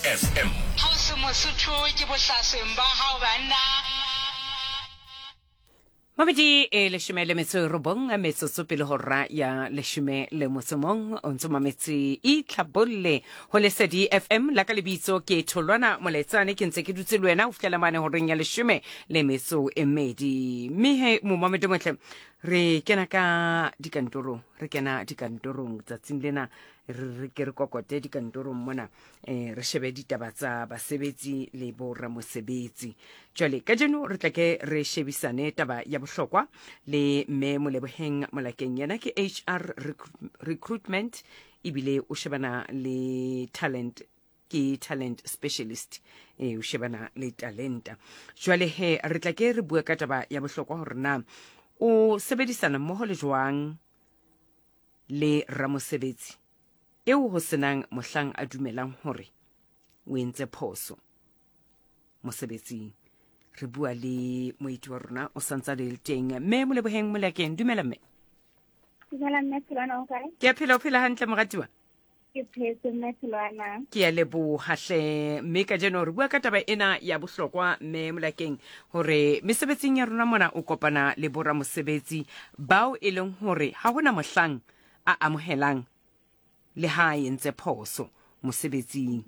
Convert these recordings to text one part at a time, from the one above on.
FM. Ha o se Mosotho ke bohlasweng ba hao banna. Mabedi e leshome le metso e robong metsotso pele hora ya leshome le motso mong o ntse mametse itlhabolle ho lesedi fm la ka lebitso ke tholwana molaetsane ke ntse ke dutse le wena ho fihlela mane horeng ya leshome le metso e mmedi mme he momamedi motle re kena ka dikantorong re kena dikantorong tsatsing lena re ke re kokote dikantorong mona um re shebe ditaba tsa basebetsi le boramosebetsi jwale kajeno re tla ke re shebisane taba ya bohlokwa le mme moleboheng molakeng yena ke hr recruitment ebile o shebana le talent ke talent specialist e o shebana le talenta jwale he re tla ke re bue ka taba ya bohlokwa hore na o sebedisana mmoho le jwang le ramosebetsi eo ho senang mohlang a dumelang hore o entse phoso mosebetsing re bua le moeti wa rona o santsa le teng mme moleboheng molakeng dumela mme dumela mme Tholwana o kae ke a phela o phela hantle moratiwa ke phetse mme Tholwana ke a leboha hle mme kajeno re bua ka taba ena ya bohlokwa mme molakeng hore mesebetsing ya rona mona o kopana le boramosebetsi bao e leng hore ha hona mohlang a amohelang le ha a entse phoso mosebetsing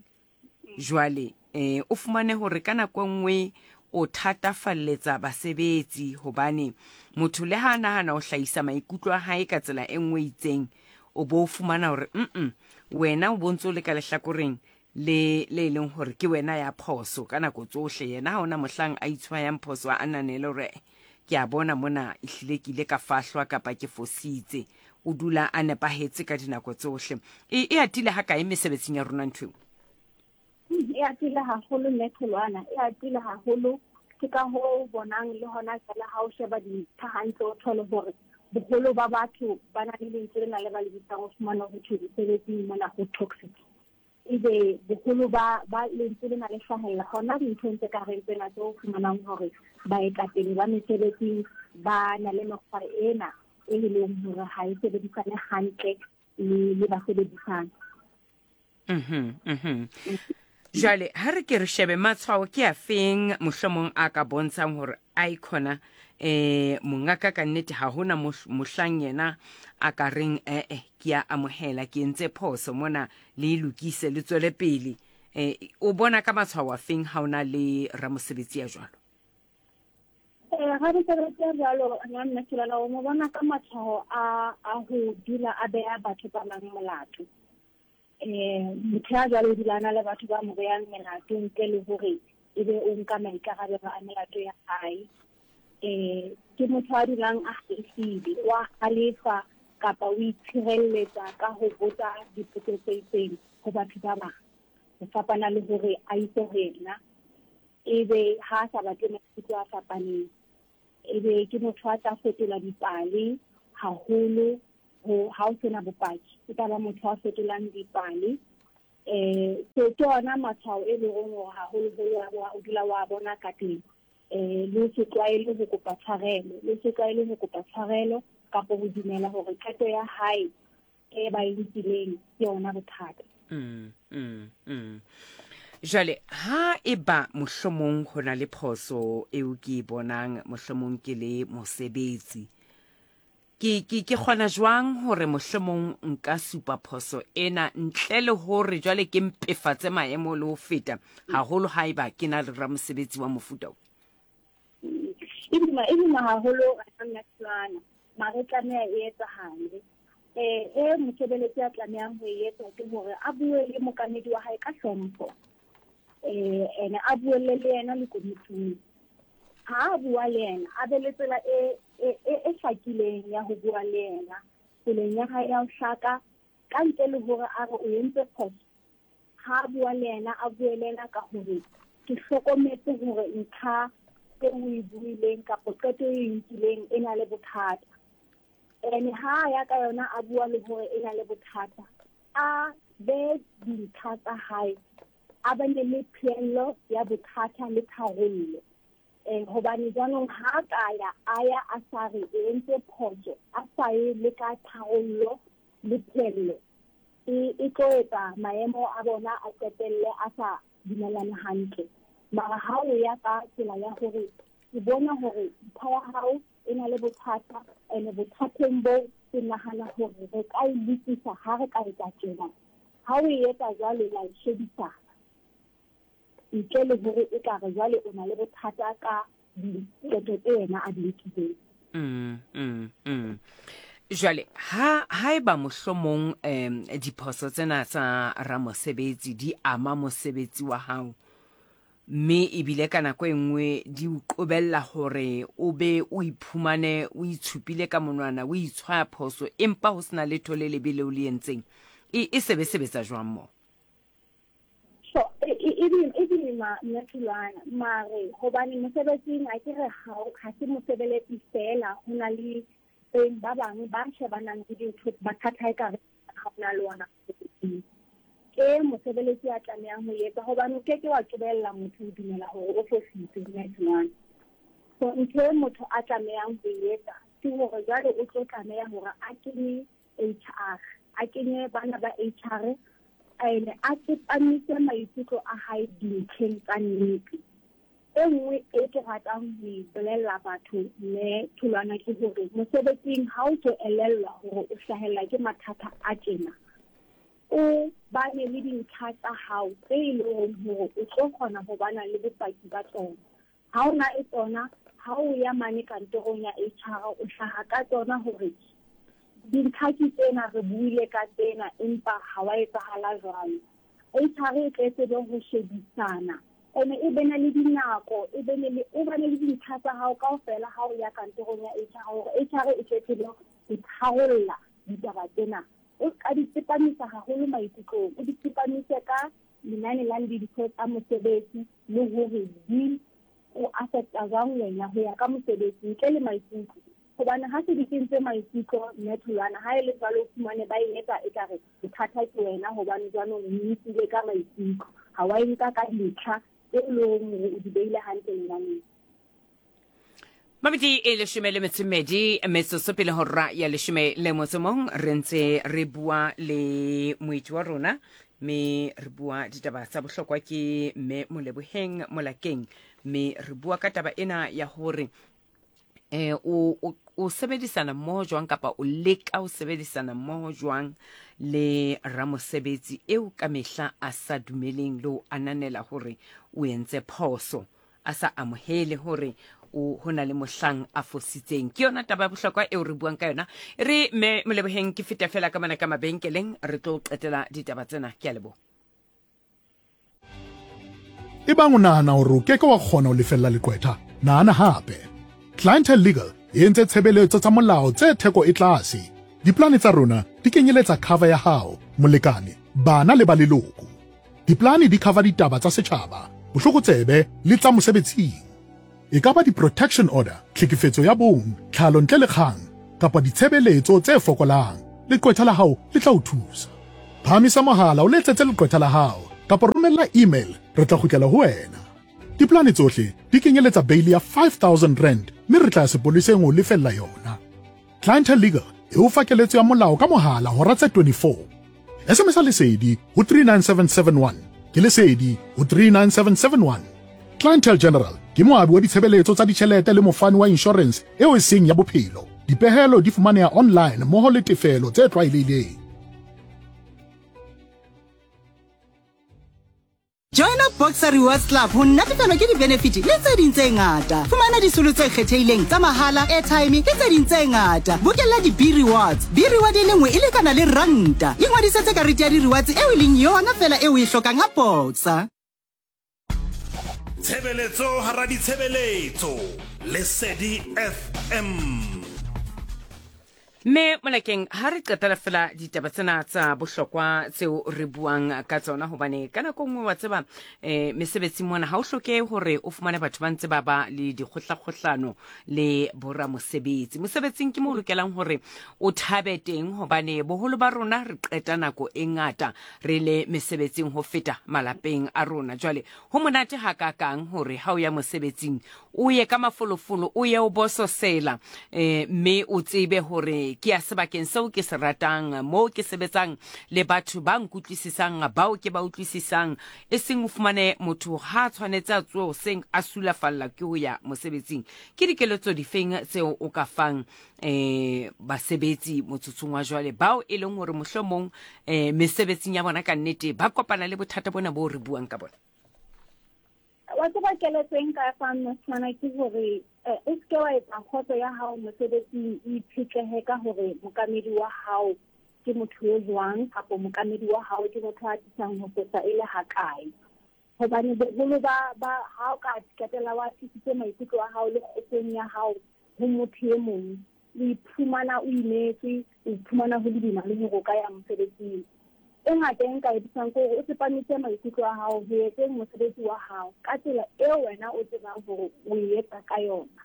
jwale eh o fumane hore ka nako e nngwe o thatafalletsa basebetsi hobane motho le ha a nahana ho hlahisa maikutlo a hae ka tsela e nngwe itseng o bo o fumana hore mm wena o bontse o le ka lehlakoreng le le e leng hore ke wena ya phoso ka nako tsohle yena ha ona mohlang a itshwayang phoso a ananele hore ke a bona mona ehlile ke ile ka fahlwa kapa ke fositse o dula a nepahetse ka dinako tsohle e, e atile ha kae mesebetsing ya rona ntho eo e atile haholo mme tholwana e atile haholo ke ka ho bonang le hona jwale ha o sheba dintlha hantle o thole hore boholo ba batho ba na le lentswe lena le ba le bitsang o fumana ho thwe mesebetsing mona ho toxic ebe boholo ba ba lentswe lena le hlahella hona dinthong tse ka reng tsena tse o fumanang hore baetapele ba mesebetsing ba na le mekgwa ena e leng hore ha e sebedisane hantle le le basebedisang Mhm. Jwale ha re ke re shebe matshwao ke a feng mohlomong a ka bontshang hore a ikhona eh mongaka ka nnete ha hona mohlang yena a ka reng eh eh ke a amohela ke entse phoso mona le e lokise le tswele pele eh o bona ka matshwao a feng ha ona le ramosebetsi ya jwalo Eh, ramosebetsi ya jwalo nna mme Tholwana o mo bona ka matshwao a a ho dula a beha batho ba bang molato um motho ya jwalo o dula a na le batho ba mo beyang melato ntle le hore e be o nka maikarabelo a melato ya hae um ke motho a dulang a halefile wa halefa kapa o itshireletsa ka ho botsa dipotso tse itseng ho batho ba bang ho fapana le hore a itse ho yena ebe ha a sa batle maikutlo a fapaneng ebe ke motho a tla fetola dipale haholo ho ha o sena bopaki e tla ba motho a fetolang dipale eh so ke ona matshwao e leng hore haholoholo o dula wa bona ka teng eh le se tlwaele ho kopa tshwarelo le se tlwaele ho kopa tshwarelo kapa ho dumela hore qeto ya hae e ba e nkileng ke yona bothata mm. Jwale ha e ba mohlomong ho na le phoso eo ke e bonang mohlomong ke le mosebetsi ke ke ke kgona jwang hore mohlomong nka supa phoso ena ntle le hore jwale ke mpefatse maemo le ho feta haholo haeba ke na le ramosebetsi wa mofuta o e boima e boima haholo nna mare tlameha e etsahale eh e mosebeletsi a tlamehang ho e etsa ke hore a bue le mokamedi wa hae ka hlompho eh ene a buelle le yena le komiting ha a bua le yena a be le tsela e e e hlakileng ya ho bua le yena tseleng ya hae ya ho hlaka ka ntle le hore a re o entse phoso ha a bua le yena a bue le yena ka hore ke hlokometse hore ntlha e o e buileng kapa qeto e nkileng e na le bothata ene ha ya ka yona a bua le hore e na le bothata a be dintlha tsa hae a bane le pheello ya bothata le tharollo um hobane jaanong ha a ka ya a ya a sa re e entse phoso a sa ye le ka tharollo le pheello. E, e tlo etsa maemo a bona a qetelle a sa dumellane hantle. Mara ha o ya ka tsela ya hore ke bona hore ntho ya hao e na le bothata, ene bothateng boo ke nahana hore re ka e lokisa ha re ka etsa tjena. Ha o e etsa jwalo la e shebisana. Ntle le hore e ka re jwale o na le bothata ka diqeto tse yena a di nkileng. Mm, mm, mm. Jwale ha haeba mohlomong um diphoso tsena tsa ramosebetsi di ama mosebetsi wa hao mme ebile ka nako e nngwe di o qobella hore o be o iphumane o itshupile ka monwana o itshwaya phoso empa ho sena letho le lebe leo le entseng e, e sebe sebetsa jwang moo? So e, e, e, e boima mme Thulwana mare hobane mosebetsing a ke re ha se mosebeletsi fela ho na le beng ba bang ba shebanang le dintho mathata e kare ga o na le ona mosebetsing ke mosebeletsi a tlamehang ho etsa hobane o ke ke wa qobella motho ho dumela hore o fositse mme Thulwana. So ntho e motho a tlamehang ho etsa ke hore jwale o tlo tlameha hore a kenye HR, a kenye bana ba HR ene a tsepamise maikutlo a hae dintlheng tsa nnete. E nngwe e ke ratang ho e bolella batho mme Tholwana ke hore mosebetsing ha o tlo elellwa hore o hlahella ke mathata a tjena, o bane le dintlha tsa hao tse e leng hore o tlo kgona ho bana le bopaki ba tsona. Ha o na e tsona, ha o ya mane kantorong ya HR o hlaha ka tsona hore dintlha ke tsena, re buile ka tsena empa ha wa etsahala jwalo. HR e tle tsebe ho shebisana ene e bene le dinako, e bene le o bane le dintlha tsa hao kaofela ha o ya kantorong ya HR hore HR e tle tsebe ho tharolla ditaba tsena. O ka di tsepamisa haholo maikutlong, o di tsepamise ka lenane la dintho tsa mosebetsi le hore di o affecta jwang wena ho ya ka mosebetsi ntle le maikutlo. Hobane ha se di kentse maikutlo mme Tholwana, ha e le jwalo o fumane ba e etsa ekare bothata ke wena hobane jwanong o nkile ka maikutlo, ha wa e nka ka dintlha tse e leng hore o di beile hantle lenaneng. Mabedi e leshome le metso mmedi metsotso pele hora ya leshome le motso mong re ntse re bua le moeti wa rona mme re bua ditaba tsa bohlokwa ke mme Moleboheng Molakeng mme re bua ka taba ena ya hore eh o o o sebedisana mmoho jwang kapa o leka ho sebedisana mmoho jwang le ramosebetsi eo ka mehla a sa dumeleng le ho ananela hore o entse phoso a sa amohele hore o ho na le mohlang a fositseng. Ke yona taba ya bohlokwa eo re buang ka yona. Re me Moleboheng ke feta fela ka mona ka mabenkeleng re tlo qetela ditaba tsena. Ke a leboha. Ebang o nahana hore o ke ke wa kgona ho lefella leqwetha, nahana hape. Clientele Legal e entse tshebeletso tsa molao tse theko e tlase. Diplane tsa rona di kenyeletsa cover ya hao, molekane, bana le ba leloko. Diplane di cover ditaba tsa setjhaba, bohlokotsebe le tsa mosebetsing. E ka ba di-protection order, tlhekefetso ya bong, tlhalo ntle le kgang, kapa ditshebeletso tse fokolang, leqwetha la hao le tla o thusa. Phahamisa mohala o letsetse leqwetha la hao kapa romella email re tla kgutlela ho wena. Diplane tsohle di kenyeletsa beili ya R5000 mme re tla ya sepoleseng ho lefella yona. Clientele Legal e o fa keletso ya molao ka mohala hora tse 24. SMS Lesedi ho 39771. Ke Lesedi ho 39771. Clientele General ke moabi wa ditshebeletso tsa ditjhelete le mofani wa inshorense eo e seng ya bophelo. Dipehelo di fumaneha online mmoho le tefelo tse tlwaelehileng. Joina Boxer Rewards Club ho natefelwa ke di-benefit le tse ding tse ngata. Fumana disolo tse kgethehileng tsa mahala, airtime le tse ding tse ngata. Bokella di-B-rewards. B-reward e le nngwe e lekana le ranta. Ingwadisetse karete ya di-rewards eo e leng yona feela eo o e hlokang ha Boxer. Tshebeletso hara ditshebeletso. Lesedi FM. Mme Molakeng, ha re qetela fela ditaba tsena tsa bohlokwa tseo re buang ka tsona, hobane ka nako nngwe wa tseba um mesebetsing mona ha o hloke hore o fumane batho ba ntse ba ba le dikgohlakgohlano le boramosebetsi. Mosebetsing ke mo o lokelang hore o thabe teng, hobane boholo ba rona re qeta nako e ngata re le mesebetsing ho feta malapeng a rona. Jwale ho monate hakakang hore ha o ya mosebetsing o ye ka mafolofolo, o ye o bososela, eh, mme o tsebe hore hore ke ya sebakeng seo ke se ratang, moo ke sebetsang le batho ba nkutlwisisang, bao ke ba utlwisisang, e seng o fumane motho ha a tshwanetse a tsohe hoseng a sulafalla ke ho ya mosebetsing. Ke dikeletso difeng tseo o ka fang um basebetsi motsotsong wa jwale bao e leng hore mohlomong um mesebetsing ya bona ka nnete ba kopana le bothata bona boo re buang ka bona? Wa tseba keletso e nka fang mosetsana ke hore eh, o seke wa etsa kgotso ya hao mosebetsing e itshetlehe ka hore mokamedi wa hao ke motho yo jwang kapo mokamedi wa hao ke motho a tisang ho fosa e le hakae. Hobane boholo ba ba ha o ka qetella wa tlisitse maikutlo a hao le kgotsong ya hao ho motho e mong, o iphumana o imetswe, o iphumana ho le boima le hore o ka ya mosebetsing. E ngata e nka e thusang ke hore o tsepamise maikutlo a hao ho etseng mosebetsi wa hao ka tsela eo wena o tsebang hore o e etsa ka yona.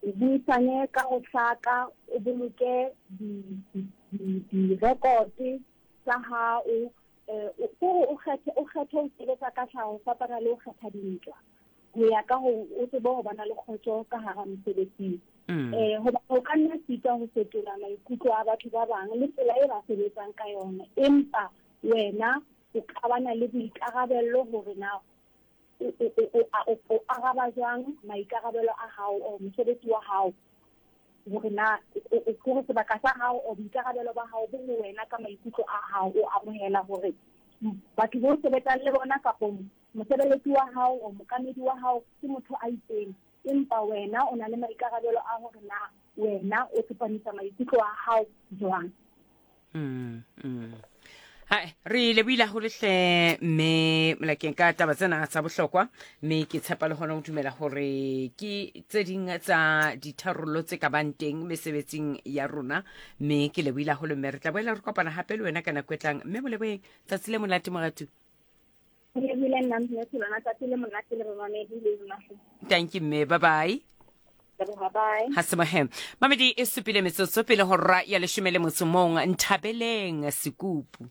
O buisane ka ho hlaka, o boloke di-record tsa hao, eh, kore o kgethe o kgethe ho sebetsa ka tlhaho ho fapana le ho kgetha dintwa ho ya ka ho o tsebe ho bana le kgotso ka hara mosebetsing. Eh, hoba o ka nna sitwa ho fetola maikutlo a batho ba bang le tsela e ba sebetsang ka yona, empa wena o ka bana le boikarabello hore na o araba jwang maikarabelo a hao or mosebetsi wa hao, hore na hore sebaka sa hao or boikarabelo ba hao bo ho wena ka maikutlo a hao, o amohela hore batho bo sebetsang le bona kapo mosebeletsi wa hao or mokamedi wa hao ke motho a itseng, empa wena o na le maikarabelo a hore na wena o tsepamisa maikutlo a hao jwang. Hai, re lebohile haholo hle mme Molakeng ka taba tsena tsa bohlokwa, mme ke tshepa le hona ho dumela hore ke tse ding tsa ditharollo tse ka bang teng mesebetsing ya rona. Mme ke lebohile haholo, mme re tla boela re kopana hape le wena ka nako e tlang. Mme Moleboheng, tsatsi le monate moratu. Lebohile nna mme Tholwana, tsatsi le monate le bamamedi le lona. Thank you mme, bye bye. Leboha, bye. Ha se mohe. Mamedi e supile metsotso pele hora ya leshome le motso mong. Nthabeleng Sekupu.